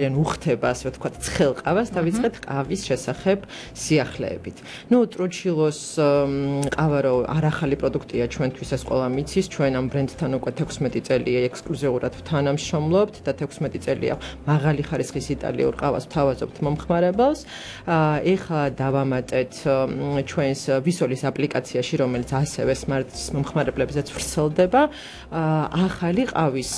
უხდება, ასე ვთქვათ, ცხელ ყავას და ვიწყეთ ყავის შესახებ სიახლეებით. ნუ ტრუჩილოს ყავა რო არ ახალი პროდუქტია ჩვენთვის ეს ყველა მიცის, ჩვენ ამ ბრენდთან უკვე 16 წელია ექსკლუზიურად თანამშრომლობთ და 16 წელია მაღალი ხარისხის იტალიურ ყავას ვთავაზობთ მომხმარებელს. ეხლა დავამატეთ ჩვენს ვისოლის აპლიკაციაში, რომელიც ასევე სმარტ მომხმარებლებზეც ვრცელდება, ახალი ყავის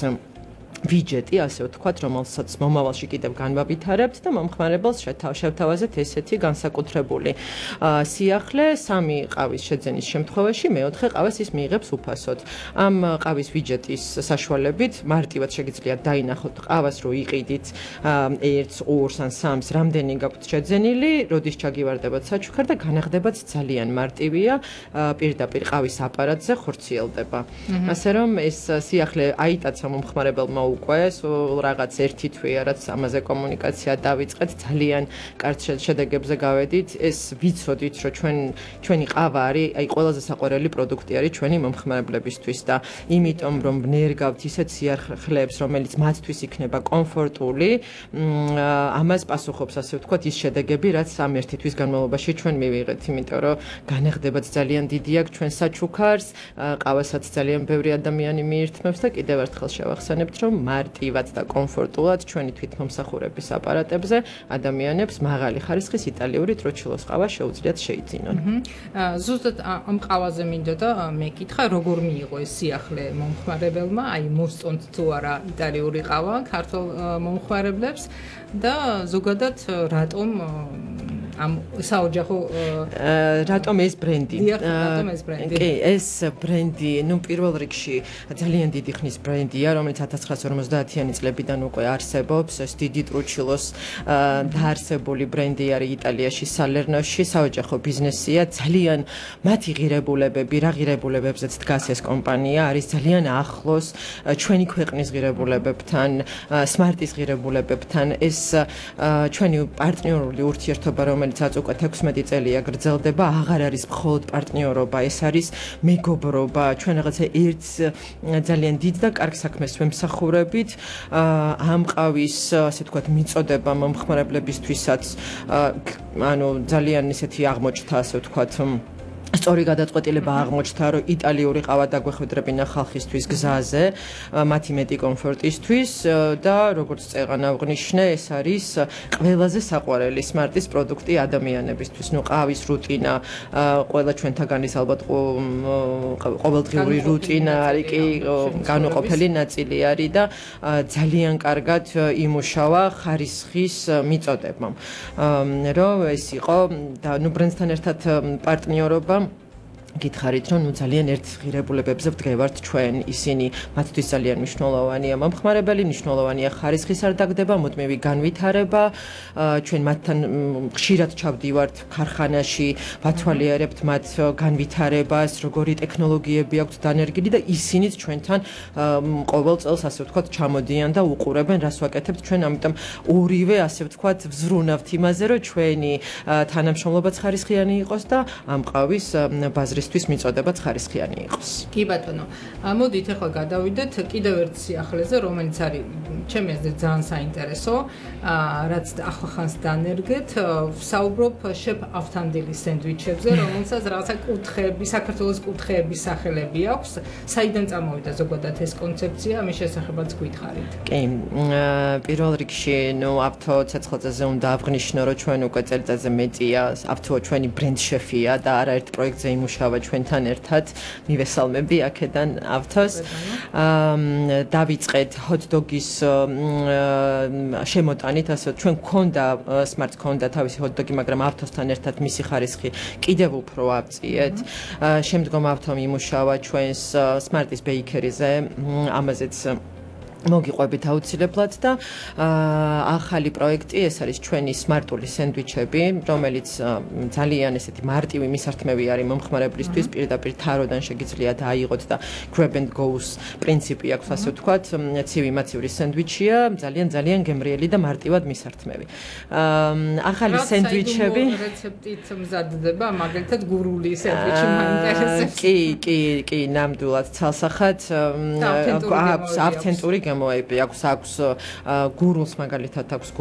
ვიჯეტი, ასე ვთქვათ, რომელსაც მომავალში კიდევ განვავითარებთ და მომხმარებელს შევთავაზეთ ესეთი განსაკუთრებული სიახლე, 3 ყავის შეძენის შემთხვევაში, მეოთხე ყავას ის მიიღებს უფასოდ. ამ ყავის ვიჯეტის საშუალებით მარტივად შეგიძლიათ დაინახოთ ყავას, რო იყიდით 1-ს, 2-ს ან 3-ს, რამდენი გაქვთ შეძენილი, როდის ჩაგივარდებათ საჩუქარ და განახდებაც ძალიან მარტივია, პირდაპირ ყავის აპარატზე ხორციელდება. ასე რომ ეს სიახლე აიტაცა მომხმარებელმა უკვე რაღაც ერთი თვეა, რაც ამაზე კომუნიკაცია დავიწყეთ, ძალიან კარგ შედეგებზე გავედით. ეს ვიცოდით, რომ ჩვენი ყავა არის, აი ყველაზე საყვარელი პროდუქტი არის ჩვენი მომხმარებლებისთვის და იმიტომ რომ ვნერგავთ ისეთ სიახლეებს, რომელიც მათთვის იქნება კომფორტული, ამას პასუხობს, ასე ვთქვათ, ის შედეგები, რაც ამ ერთი თვის განმავლობაში ჩვენ მივიღეთ, იმიტომ რომ განახდებაც ძალიან დიდი აქვს ჩვენ საჩუქარს, ყავასაც ძალიან ბევრი ადამიანი მიირთმევს და კიდევ ერთხელ შევახსენებთ, რომ მარტივად და კომფორტულად ჩვენი თვითმომსახურების აპარატებზე ადამიანებს მაღალი ხარისხის იტალიური ტრუჩილოს ყავა შეუძლიათ შეიძინონ. ზუსტად ამ ყავაზე მინდოდა მეკითხა, როგორ მიიღო ეს სიახლე მომხმარებელმა, აი მოსწონთ თუ არა იტალიური ყავა ქართულ მომხმარებლებს და ზოგადად რატომ ამ საოჯახო რატომ ეს ბრენდი? რატომ ეს ბრენდი? კი, ეს ბრენდი, ნუ პირველ რიგში ძალიან დიდი ხნის ბრენდია, რომელიც 1950-იანი წლებიდან უკვე არსებობს. ეს დიდი ტრუჩილოს დაარსებული ბრენდი არის იტალიაში, სალერნოში, საოჯახო ბიზნესია. ძალიან მათი ღირებულებები, რა ღირებულებებზეც დგას ეს კომპანია, არის ძალიან ახლოს ჩვენი ქვეყნის ღირებულებებთან, სმარტის ღირებულებებთან. ეს ჩვენი პარტნიორული ურთიერთობა, რომელიცაც უკვე 16 წელია გრძელდება, აღარ არის მხოლოდ პარტნიორობა, ეს არის მეგობრობა. ჩვენ რაღაცა ერთს ძალიან დიდ და კარგ საქმეს ვემსახურებით. ამ ყავის, ასე ვთქვათ, მიწოდება მომხმარებლებისთვისაც, ანუ ძალიან ისეთი აღმოჩნდა, ასე ვთქვათ, სწორი გადაწყვეტილება აღმოჩნდა, რომ იტალიური ყავა დაგვეხვედრებინა ხალხისთვის გზაზე, მათი მეტი კომფორტისთვის და როგორც წეღან აღვნიშნე, ეს არის ყველაზე საყვარელი სმარტის პროდუქტი ადამიანებისთვის. ნუ ყავის რუტინა, ყველა ჩვენთაგანის ალბათ ყოველდღიური რუტინა არის, კი, განუყოფელი ნაწილი არის და ძალიან კარგად იმუშავა ხარისხის მიწოდებამ. რომ ეს იყო და ნუ ბრენდთან ერთად პარტნიორობა გითხარით, რომ ძალიან ერთ ღირებულებებზე ვდგევართ ჩვენ, ისინი მათთვის ძალიან მნიშვნელოვანია მომხმარებელი, მნიშვნელოვანია ხარისხის არ დაგდება, მუდმივი განვითარება, ჩვენ მათთან ხშირად ჩავდივართ ქარხანაში, ვათვალიერებთ მათ განვითარებას, როგორი ტექნოლოგიები აქვთ დანერგილი და ისინიც ჩვენთან ყოველ წელს, ასე ვთქვათ, ჩამოდიან და უყურებენ, რას ვაკეთებთ ჩვენ, ამიტომ ორივე, ასე ვთქვათ, ვზრუნავთ იმაზე, რომ ჩვენი თანამშრომლობაც ხარისხიანი იყოს და ამ ყავის ბაზრის თვის მიწოდებაც ხარისხიანი იყოს. კი ბატონო, მოდით ახლა გადავიდეთ კიდევ ერთ სიახლეზე, რომელიც არის ჩემი აზრით ძალიან საინტერესო, რაც ახლახანს დანერგეთ, ვსაუბრობ შეფ ავთანდილის სენდვიჩებზე, რომელსაც რაღაცა კუთხეები, საქართველოს კუთხეების სახელები აქვს. საიდან წამოვიდა ზოგადად ეს კონცეფცია, ამის შესახებაც გითხარით. კი, პირველ რიგში, ნუ ავთო ცეცხლაძეზე უნდა აღვნიშნო, რომ ჩვენ უკვე წელიწადზე მეტია, ავთო ჩვენი ბრენდ შეფია და არაერთ პროექტზე იმუშავა ჩვენთან ერთად, მივესალმები აქედან ავთოს. დავიწყეთ ჰოთ-დოგის შემოტანით, ასე ჩვენ გქონდა სმარტ გქონდა თავისი ჰოთ-დოგი, მაგრამ ავთოსთან ერთად მისი ხარისხი კიდევ უფრო ავწიეთ. შემდგომ ავთომ იმუშავა ჩვენს სმარტის ბეიქერიზე, ამაზეც მოგიყვებით აუცილებლად და ახალი პროექტი, ეს არის ჩვენი სმარტული სენდვიჩები, რომელიც ძალიან ესეთი მარტივი მისართმევი არის მომხმარებლისთვის, პირდაპირ თაროდან შეგიძლიათ აიღოთ და grab and go-ს პრინციპი აქვს, ასე ვთქვათ, ცივი-მაცივრი სენდვიჩია, ძალიან გემრიელი და მარტივად მისართმევი. ახალი სენდვიჩები რეცეპტით მზადდება, მაგალითად გურული სენდვიჩი მაინტერესებს. კი, ნამდვილად ცალსახად აქვს ავთენტური შემოები აქვს გურულს მაგალითად აქვს